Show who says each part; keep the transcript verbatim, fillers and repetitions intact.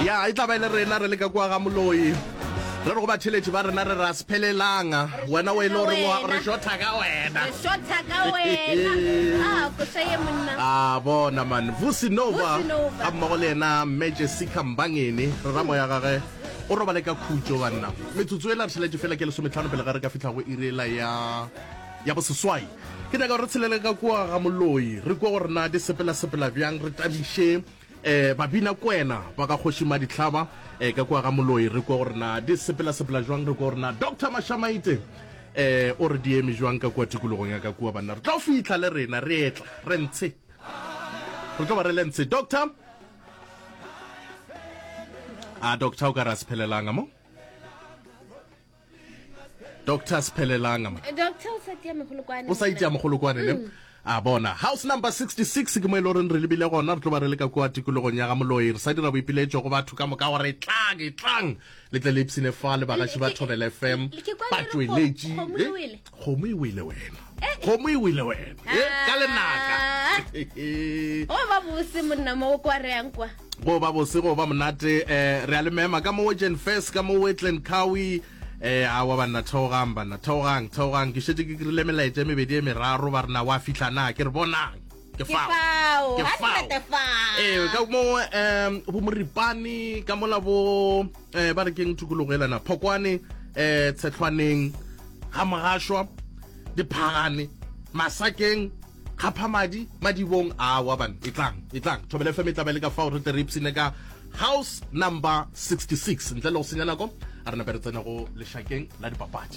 Speaker 1: Ya, e tla ba e le rena re le ka kua ga Moloi. Re re go batheletši ba rena re re a se phelelanga. Wena o e le gore wa re shotha ka wena.
Speaker 2: Re shotha ka wena. Ah, koša ye monna.
Speaker 1: A bona man, Vusi Nova
Speaker 2: Vusi Nova.
Speaker 1: ga mmogo le yena Mme Jessica Mbangeni, re ra moya gage o robale ka khutšo banna. Metsotso ela re šaletše fela ke lesometlhano pele ga re ka fihla go iri ela ya ya boseswai. Ke nyaka gore re tshelele ka kua ga Moloi, re kwe gore na di sepela-sepela bjang, re tabiše eh babina kwena ba ka Kgoši Madihlaba eh ka kua ga Moloi, re kwe gore na di sepela-sepela jwang, re kwe gore na Doctor Mashamaite eh o re di eme jwang ka kua tikologong ya ka kua banna. Re tlo fihla le rena re etla re ntshe, re tlo ba re le ntshe. Doctor, a doctor o ka re a se phelelanga mo? Doctor se phelelanga mo?
Speaker 2: Doctor o sa tia megolokwane.
Speaker 1: O sa itia mogolokwane ne? A bona, house number sixty-six ke mo e le goreng re lebile gona. Re tlo ba re le ka kua tikologong ya ga Moloi, re sa dira boipiletšo go batho ka moka gore tlang, e tlang le tle le ipsine fa le bagaši ba Thobela F M,
Speaker 2: Ke kwa le re
Speaker 1: batšweletši.
Speaker 2: kgomo e wele.
Speaker 1: Kgomo e wele wena, kgomo e wele wena e ka lenaka.
Speaker 2: Go ba bose monna mo o kwa re yang kwa.
Speaker 1: Go ba bose, go ba monate. um re a le mema ka mo Jen First, ka mo Wetland Cowie. eh awa banna, theogang banna, theogang, theogang. Ke šetše ke krile melaetša e mebedi e meraro, ba re na wa fihla na? Ke re bonang, ke
Speaker 2: Ke
Speaker 1: fao,
Speaker 2: fao,
Speaker 1: ke
Speaker 2: ga
Speaker 1: fao.
Speaker 2: ntate fao.
Speaker 1: Ee, ka mo um bo Moripane ka mola bo um ba re keng tikologo elana Phokwane, um Tshetlhwaneng, ga Mogašwa, Diphagane, Masakeng, Kgaphamadi, Madibong. Awa bana, e tlang, e tlang, Thobela F M e tla ba le ka fao, re tle re ipsine ka house number sixty-six. Ntle le go senya nako, a re nape re tsene go lešakeng la dipapadi.